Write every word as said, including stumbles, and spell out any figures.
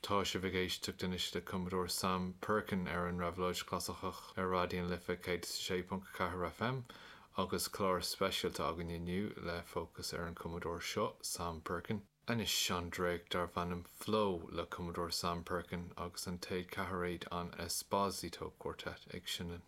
Tá sibh ag éisteacht anois le cumadóir Sam Perkin ar an Réabhlóid Chlasaiceach ar Raidió na Life céad sé ponc ceathair FM agus clár speisialta againn inniu le fócas ar an cumadóir seo Sam Perkin. Anois an dréacht darb ainm Flow le cumadóir Sam Perkin agus an téad ceathairéad an Esposito Quartet ag seinm.